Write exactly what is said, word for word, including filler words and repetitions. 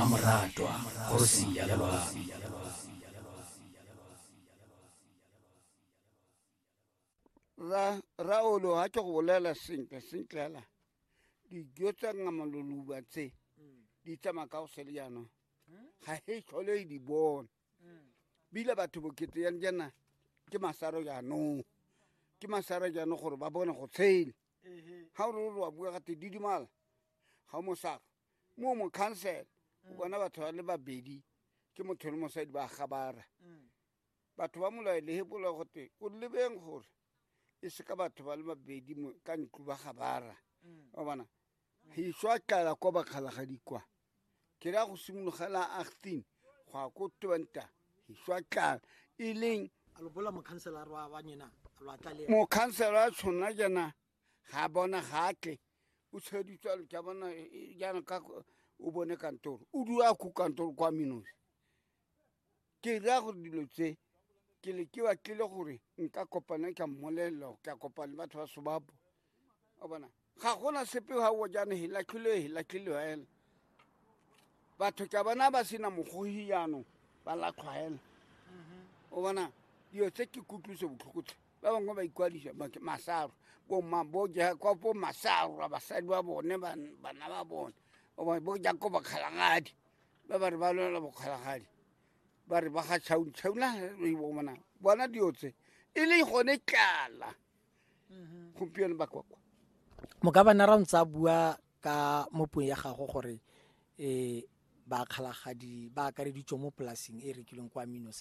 Mmamoratwa kgosi ya loabi. Ra raolo ha ke go bolela sentle sentle hela dijo tsa ngamaloluba tse di tsamaya ka go sele jaanong ga e tlhole e di bona bile batho bokete yang jaana ke masaro jaanong ke masaro jaanong gore ba bone go tshela ga o re o re wa bua gate didimala ga o mosaro mo mo council o bona batho ba le babedi ke motho le mosadi ba gabara batho ba molao le hepola gote o lebeng gore e se ka batho ba le babedi ka ntlo ba gabara o bona hiswa tlala kwa bakgalagadi kwa ke ra go simologela agtin go ya ko twenta hiswa tlala e leng mokhanselara a tshwana jaana ga bona ga tle o tsheditswe ke bona jaana ka o bone kantoro o dula ko kantoro kwa Minos ke ra gore dilo tse ke le ke batlile gore nka kopana ka mmolelela ka kopana le batho ba Sobapo o bona ga gona sepe ga o jaana he latlhile he latlhile fela batho ka bona ba sena mogogi jaanong ba latlhwa fela o bona dilo tse ke kutlwiso botlhoko tlhe ba bangwe ba ikwadisa masaro bomma bo ja kwa bo masaro basadi ba bone bana ba bone o bona bo ja ko bakgalagadi ba ba re ba lwela bokgalagadi ba re ba ga tšhaung tšhauna bona bona dilo tse e le gone tlala gompieno ba kwakwa. Mokabana ra ntse a bua ka mo puong ya gago gore um bakgalagadi ba akareditswe mo polasing e rekilweng kwa Minos.